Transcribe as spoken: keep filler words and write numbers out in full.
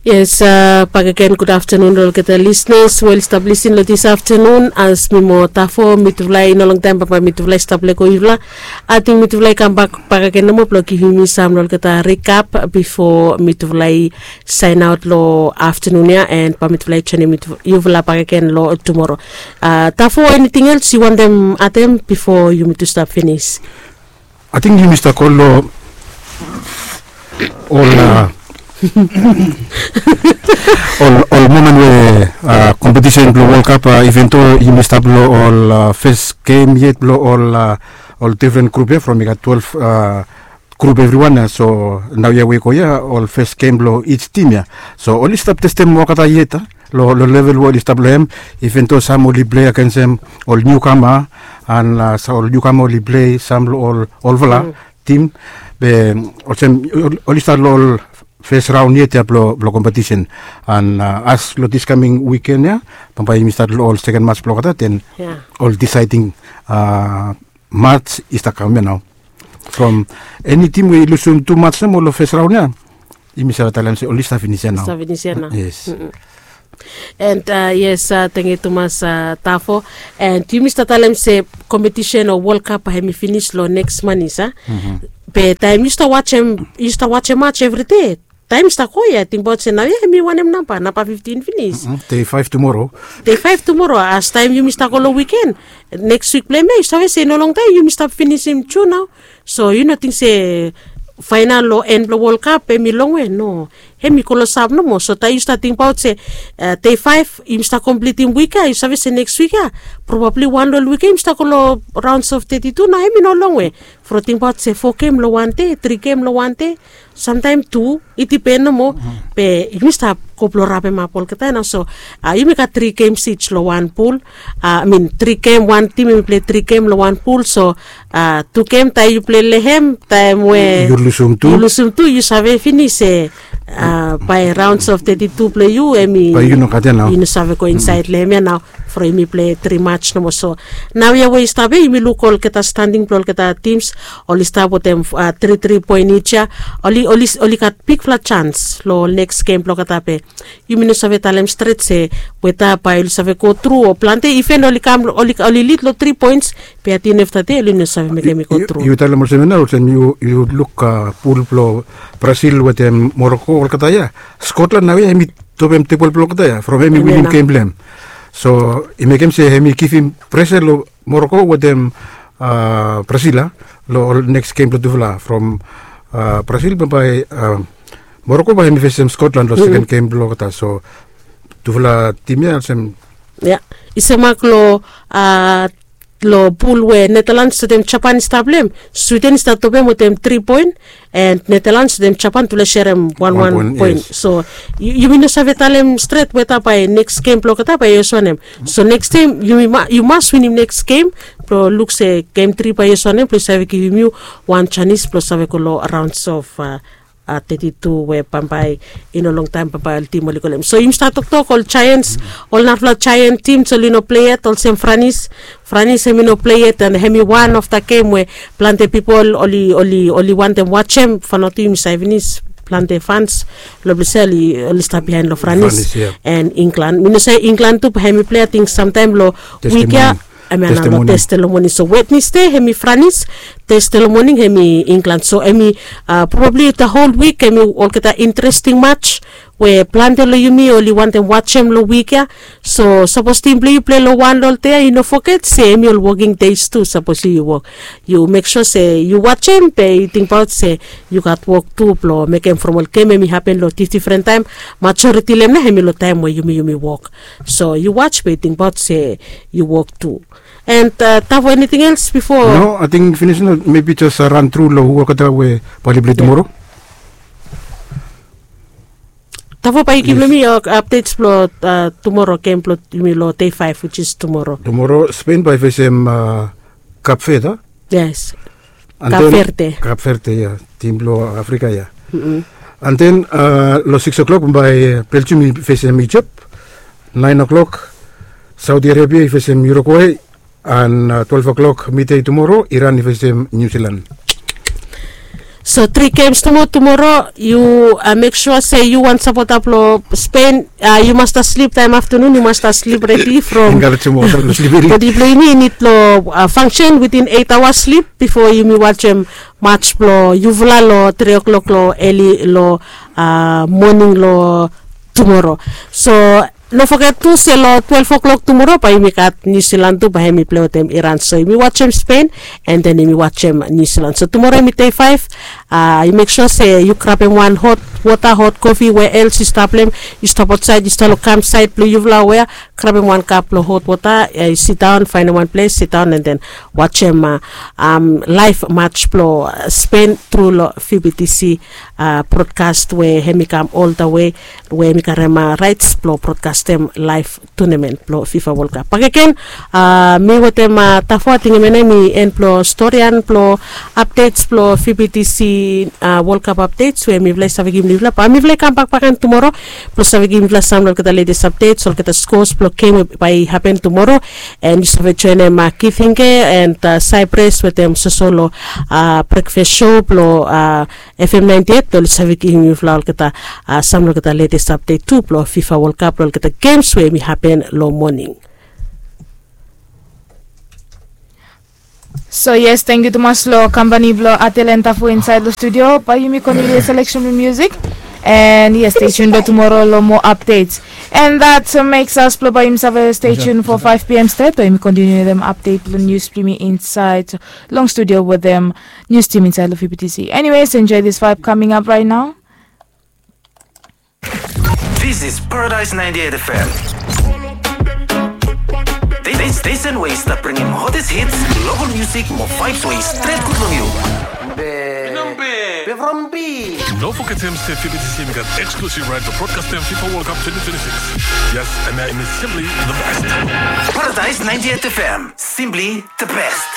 Yes, bakegen gud aftenun long olgeta lisnas we oli stap lisin long dis aftenun. As mi mo tafo mitufala i no longtaem bambae mitufala i stap lego yufala. Ating mitufala i kambak bakegen nomo blong givim mi sam long olgeta rikap bifo mitufala i saenaot long aftenun ya, and bae mitufala i joenem yufala bakegen long tumoro. Tafo, eniting els yu wantem adem bifo yumi tu stap finis? Ating yumi stap go long ol ol momen we kompetisen blong Wol Kap, iven do yumi stap long ol fes gem yet blong ol difren grup ya, from i gat twelef grup evriwan ya. So naoia we i go ya ol fes gem blong ij tim ya. So oli stap testem olgeta yet long level we oli stap long hem. Iven do sam oli plei agensem ol niukama, an ol niukama oli plei sam long ol olfala tim. Be olsem oli stap long ol fes raon yet ya blong kompetisen. An as long dis kaming wiken ya bambae yumi stat long ol seken mats blong olgeta, den ol disaeding mats i stap kam ya nao. From eni tim we i lusum tu mats nomo long fes raon ya, yumi save talem se oli stap finis ya nao. Yes. And yes, tangkiu tumas Tafo. And yumi stap talem se kompetisen o Wol Kap bae hemi finis long neks manis a. Be taem yu stap wajem, yu stap wajem mats evri dei, taem i stap go ya, tingbaot se naoia hemi wanem namba, namba fiftin finis. Dei faef tumoro. Dei faef tumoro, as taem yumi stap go long wiken, neks wik blong hem ya yu save se i no longtaem yumi stap finisim Jun nao. So yu no ting se faenal o en blong Wol Kap hemi longwe, no. Hemi klosap nomo. So taem yu stap tingbaot se dei faef yumi stap komplitim wik ya, yu save se neks wik ya, probabli wan long ol wik ya yumi stap go long raons of teti tu nao, hemi no longwe. From tingbaot se fo gem long wan dei, tri gem long wan dei, samtaem tu, i dipen nomo. Be yumi stap go blong rapemap olgeta ya nao. So yumi gat tri gems ij long wan pul. I min tri gem, wan tim hemi plei tri gem long wan pul. So tu gem taem yu plei long hem, taem we yu lusum tu, yu save finis se bae raons of teti tu blong yu hemi, bae yu no gat ya nao, yu no save go insaed long hem ya nao. From yumi plei tri mats nomo. So naoia we i stap ya yumi luk olgeta standing blong olgeta tims. Oli stap wetem tri tri poen ij ya. Oli, oli gat bigfala jans long ol neks gem blong olgeta be yumi no save talem stret se weta bae oli save go tru o plante, iven oli kam, oli lid long tri poens, be at the end of the day oli no save mekem i go tru. Yu talem olsem ya nao, olsem yu luk pul blong Brasil wetem Moroko olgeta ya. Skotlan naoia hemi topem tebol blong olgeta ya from hemi winim gem blong hem. So i mekem se hemi givim presa long Moroko wetem Brasil ya long ol neks gem blong tufala. From Brasil bambae Moroko bae hemi fesem Skotlan long seken gem blong olgeta. So tufala tim ya olsem ya i stap mak long long pul we Netalans wetem Japan i stap long hem, Swiden i stap topem wetem tri poen, and Netalans wetem Japan tufala i serem wan wan poen. So yumi no save talem stret weta bae neks gem blong olgeta bae i oswanem. So neks taem yu mas winim neks gem blong luk se gem tri bae i oswanem blong i save givim yu wan janis blong save go long raons of teti tu we bambae i no longtaem bambae ol tim oli go long hem. So yumi stap toktok ol Jaens, ol narafala Jaen tims oli no plei yet, olsem Franis. Franis hemi no plei yet, and hemi wan of da gem we plante pipol oli, oli, oli wantem wajem. Faonaot tu yumi save finis plante fans long ples ya oli stap biaen long Franis and Inglan. Mi no save Inglan tu bae hemi plei ating samtaem long wik ya. Hemia nao long Tesde long moning. So Wednesde hemi Franis, Tesde long moning hemi Inglan. So hemi probabli da hol wik hemi olgeta interesting mats we plante long yumi oli wantem wajem long wik ya. So sapos tim blong yu plei long wan long ol dei ya, yu no foget se hemi ol woking deis tu. Sapos yu, yu wok, yu mek sua se yu wajem be yu tingbaot se yu gat wok tu blong mekem from ol gem hemi hapen long difdifren taem. Majoriti long hem nao hemi long taem we yumi, yumi wok. So yu waj be yu tingbaot se yu wok tu. And Tavo, eniting els bifo? No, ating finis nao. Mebi jes ran tru long hu olgeta we bae oli plei tumoro. Tavo, bae yu givim mi ol apdets blong tumoro gem blong yumi long dei faef, which is tumoro. Tumoro Spen bae i fesem Kap Verde. Yes. Kap Verde. Kap Verde ya, tim blong Afrika ya. And then long sikis o'clock bae Belgium i fesem Ijip. Naen o'clock Saudi Arabia i fesem Uruguay. And twelef o'clock midei tumoro Iran i fesem Niu Silan. So tri gems nomo tumoro, yu mek sua se yu wan sapota blong Spen, yu mas stap slip taem aftanun, yu mas stap slip redi from bodi blong yumi i nid long fangsen witin eit aoa slip bifo yumi wajem mats blong yufala long tri o'klok long eli long moning long tumoro. So no foget tu se long twelef o'klok tumoro bae yumi gat Niu Silan tu, bae hemi plei wetem Iran. So yumi wajem Spen, an den yumi wajem Niu Silan. So tumoro hemi dei faef. Yu mek sua se yu grabem wan hot wota, hot kofi, wea els yu stap long hem, yu stap aotsaed, yu stap long kam saed blong yufala wea, grabem wan kap blong hot wota, yu sidaon, faenem wan ples sidaon, an den wajem laef mats blong Spen tru long V B T C brodkas we hemi kam oldawe, we hemi karem raets blong brodkastem laef tunamen blong FIFA World Cup. Bakegen mi wetem Tafo, ating hemia nao hemi en blong storian blong apdets blong V B T C World Cup apdets we mifala i save givim yufala. Bae mifala i kambak bakegen tumoro blong save givim yufala sam long olgeta letes apdets, olgeta skos blong gem we bae i hapen tumoro. An yu save joenem Kifinge an Saipres wetem Sosolo brekfas sou blong FM ninety eight, oli save givim yufala olgeta sam long olgeta letes apdet tu blong FIFA World Cup, long olgeta gems we hemi hapen long moning. So yes, tangkiu tumas long kampani blong Atel an Tafo insaed long studio. Bae yumi kontiniu seleksen blong musik. An yes, stay tuned blong tumoro long moa apdets. An that makes us blong bae yumi save stay tuned for five p.m. stret, bae yumi kontiniu wetem apdet blong nius blong yumi insaed long studio wetem nius tim insaed long V B T C. Anyways, enjoy this vibe coming up right now. This is Paradise ninety-eight FM. This station we i stap bringim hottest hits, local music, mo vibes we i stret gud long yu. Be from B. No fogetem se V B T C hemi gat exclusive right blong brodkastem FIFA World Cup twenty twenty-six. Yes, an hemi simply the best. Paradise ninety-eight FM, simply the best.